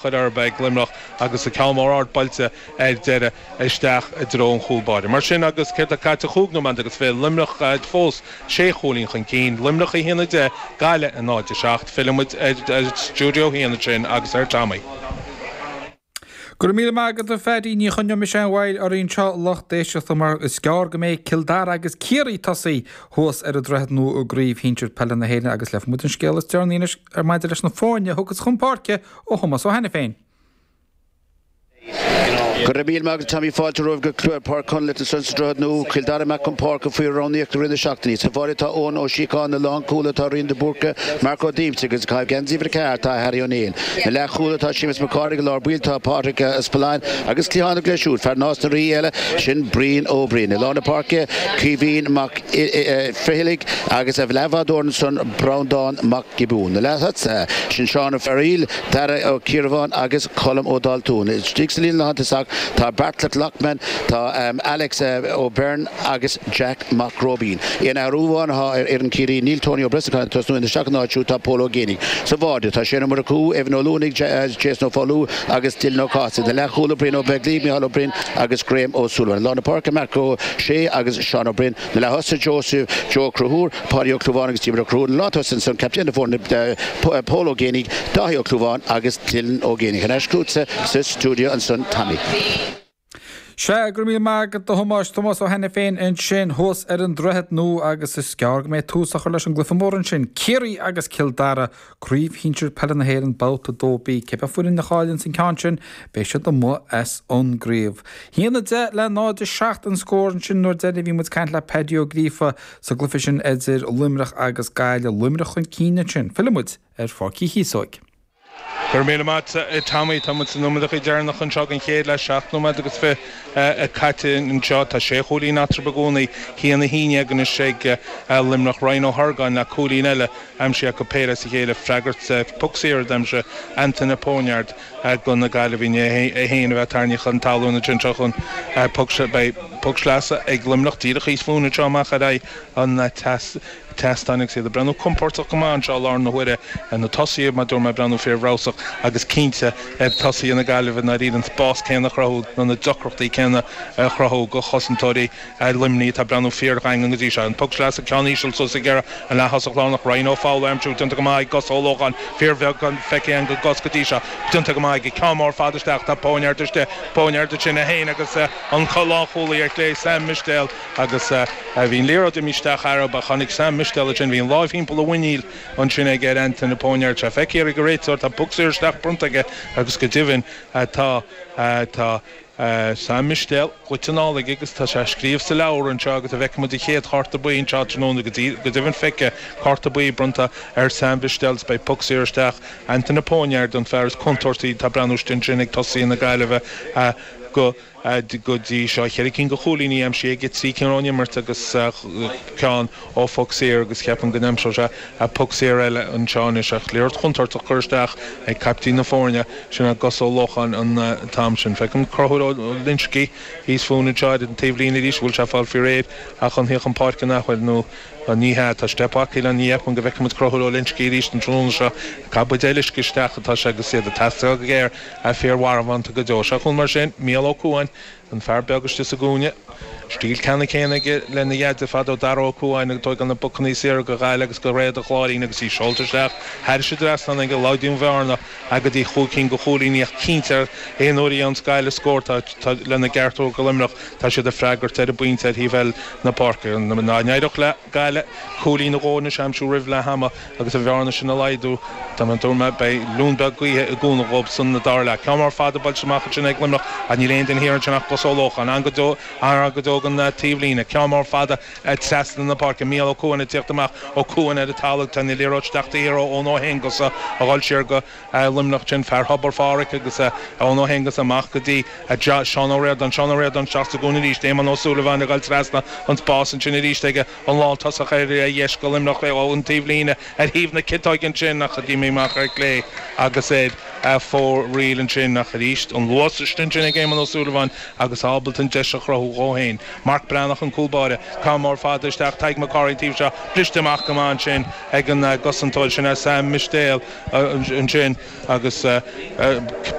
Chur orthu ag Luimneach agus an ceann mór ard buailte ar deireadh isteach i dtreo an chúl báire. Mar sin agus céard atá caite 25 nóiméad, Luimneach fós sé chúilín chun cinn, Luimneach 1-10, Gaillimh 0-7. Filleann muid ar Stiúideo 1 ansin agus ar Tommy. Go raibh míle maith agat a Phaddy, ní choinneoidh mise aon mhoill oraibh anseo a lucht éisteachta mar is gearr go mbeidh Cill Dara agus Ciarraí tosaithe thuas ar an Droichead Nua i gCraobh Shinsir Peile na hÉireann agus léifidh muid an scéal is deireanaí anois ar maidir leis na foirne a thiocfas chun páirce ó Thomás Ó hAiniféin. Go raibh míle maith agat Tommy Fáilte romhaibh go Páirc Conleth ansan sa Droichead Nua, Cill Dara amach chun páirce faoi roghnaíocht i rith na seachtaine. Sa bháide tá Eoin Ó Síocháin, na lánchúlaithe tá Rian de Búrca, Marc Ó Díomsaigh agus ag caitheamh geansaí uimhir 4 tá Harry Ó Néill. Na leathchúlaithe tá Séamus Mac Cárthaigh, i lár baill tá Pádraig Spillane agus cliathánach leis siúd, fear Nás na Rí eile, sin Brian Ó Briain. I lár na páirce Caoimhín Mac Fhircheallaigh agus a leathbhádóir ansan Breandán Mac Giobúin. Na leath-thosaithe, sin Seán Ó Fearaíl, Dara Ó Ciarabháin agus Colm Ó Daltúin. Istigh sa líne lántosach tá Bartlett Lockman, tá Alex Ó Beirn agus Jack Mac Róibín. Aon athrú amháin atá ar fhoireann Chiarraí, níl Tony Ó Brosnacháin ag tosnú, isteach ina áit siúd tá Pól Ó Géibheannaigh. Sa bháide tá Shane Ó Murchú, Evan Ó Luanaigh, Jason Ó Foghlú agus Dylan Ó Cathasaigh. Na leathchúlaithe Brian Ó Beaglaoich, Micheál Ó Broin agus Graham Ó Súilleabháin. I lár na páirce Marc Ó Sé agus Seán Ó Broin. Na leath-thosaithe Joseph Joe Ó Conchúir, Páidí Ó Clúmháin agus Diarmuid Ó Conchúir. Na lántosaithe ansan, captaen na foirne Pól Ó Géibheannaigh, Dáithí Ó Clúmháin agus Dylan Ó Géibheannaigh. Thar n-ais chugatsa sa stiúideo ansan Tommy. Sea, go raibh míle maith agat a Thomáis, Tomás Ó hAiniféin ansin thuas ar an Droichead Nua agus is gearr go mbeidh tús á chur leis an gcluiche mór ansin, Ciarraí agus Cill Dara, Craobh Shinsir Peile na hÉireann, Babhta 2B. Cibé foireann a chailleanns an ceann sin, beidh siad amuigh as an gcraobh. 1-10 le 0-7 an scór ansin nuair deireanach a bhí muid ag caint le Paddy Ó Gríofa sa gcluiche sin idir Luimneach agus Gaillimh. Luimneach chun cinn ansin. Fillfidh muid ar Pháirc Uí Chíosóig. Go raibh míle maith agat, Tommy. Tá muid sna nóiméadacha deireanacha anseo den chéad leath, 7 nóiméad agus 20 caite anseo. Tá sé chúilín eatarthu i gcónaí, 1-11 anois ag Luimneach. Ryan Ó hOrgáin le cúilín eile aimsithe acu péire as a chéile. Freagairt poc saor a d'aimsigh Antaine Poineard do na Gaillimhigh é féin a bheith tarraingthe chun talún ansin. Seo chugainn poc beidh poc sleasa ag Luimneach díreach thíos fúinn anseo amach ar aghaidh an tseastáin agus iad ag breathnú compordach go maith anseo i láthair na huaire. Na tosaithe, mar a dúirt mé, ag breathnú fíorbhreabhsach agus cinnte tosaithe na Gaillimhe i ndáiríre an spás céanna a chruthú nó na deacrachtaí céanna a chruthú do chosantóirí Luimnigh atá ag breathnú fíordhaingean go dtí seo. An poc sleasa, ceann íseal suas ag iarraidh an leath-thosach lárnach Ryan Ó Foghlú a aimsiú. Déanta go maith ag Gus Ó Lócháin, fíorbheagán feicthe againn de Gus go dtí seo. Déanta go maith aige. Ceann mór fada isteach. Tá Poineard istigh. Poineard ansin é féin agus an lánchúlaí ar chlé Sam Mistéal. Agus bhí an liathróid imithe isteach arb ach tháinig Sam Mistéal ansin, bhí an láimh thimpeall a mhuiníl ansin aige ar Antaine Poineard. Tá feicthe ag an réiteoir, tá poc saor isteach bronnta aige agus go deimhin tá, tá Sam Mistéal goite anall aige agus tá sé á scríobh sa leabhar anseo agus an bhfeicfidh muid an chéad chárta buí anseo tráthnóna go dtí, go deimhin feicthe, cárta buí bronnta ar Sam Mistéal agus beidh poc saor isteach. Antaine Poineard an fear is contúirtí atá ag breathnú istigh ansin ag tosaithe na Gaillimhe go. Go dtí seo, cheithre cinn de chúilíní aimsithe aige, 3 cinn ón imirt agus ceann ó phoc saor agus ceapaim go n-aimseoidh sé poc saor eile anseo anois. Ach liathróid chontúirteach curtha isteach ag caiptín na foirne, sin é Gus Ó Lócháin an t-am sin. Feicim Conchúr Ó Loinsigh thíos fúinn anseo ar an taobhlíne arís, bhfuil sé ag fáil faoi réir chun theacht chun páirce nach bhfuil nó Ní hea, tá steip acu le ní cheapaim go bhfeicfidh muid Conchúr Ó Loinsigh arís an tráthnóna seo. Ag caitheamh buidéal uisce isteach atá sé agus iad ag teastáil go géar, fíor-mharbhánta go deo. Seo chugainn mar sin, Mícheál Ó Cuain, an fear beag istigh sa gcúinne. Stíl ceannann céanna aige lena dheaide fadó, Dara Ó Cuain, ag tógáil na bpocannaí saora do Ghaillimh agus do Réada Chláirín agus í seolta isteach thairis an dtrasnán aige, laghdaíonn an bhearna go dtí chúig cinn de chúilíní ach cinnte aon uair a dhéananns Gaillimh scór tá lena gceartú do Luimneach tá siad ag freagairt ar an bpointe ar thaobh eile na páirce. Dá n-éireodh le Gaillimh cúilín nó dhó anois a aimsiú roimh leath ama agus an bhearna sin a laghdú, dá mba dúirt mé, beidh liún beag gaoithe i gcúnamh dhóibh san dara leath. Ceann mór fada buailte amach ansin ag Luimneach ach níl aon duine thiar ansin ach Gus Ó Lócháin. An go deo an go deo den taobhlíne. Ceann mór fada trasna na páirce. Mícheál Ó Cuain ag tíocht amach. Ó Cuain ar an talamh. Tá an liathróid isteach taobh thiar ó Eoin Ó hAonghusa a dhul siar go Luimneach ansin. Fear Thobar Phádraig agus Eoin Ó hAonghusa amach go dtí Seán Ó Ríordáin. Seán Ó Ríordáin isteach sa gcúinne arís. Éamonn Ó Súilleabháin ag dul trasna an spás ansin arís aige. An lántosach ar dheis go Luimneach ón taobhlíne ar thaobh na ciotóige ansin ach d'imigh amach ar chlé agus ar. fóraoil ansin ach arís an luas istigh ansin ag Éamonn Ó Súilleabháin agus ábalta an deis a chruthú dhó féin. Marc Breathnach an cúl báire. Ceann mór fada isteach Tadhg Mac Cárthaigh an taobh seo briste amach go maith ansin ag an gcosantóir sin Sam Mistéil ansin agus.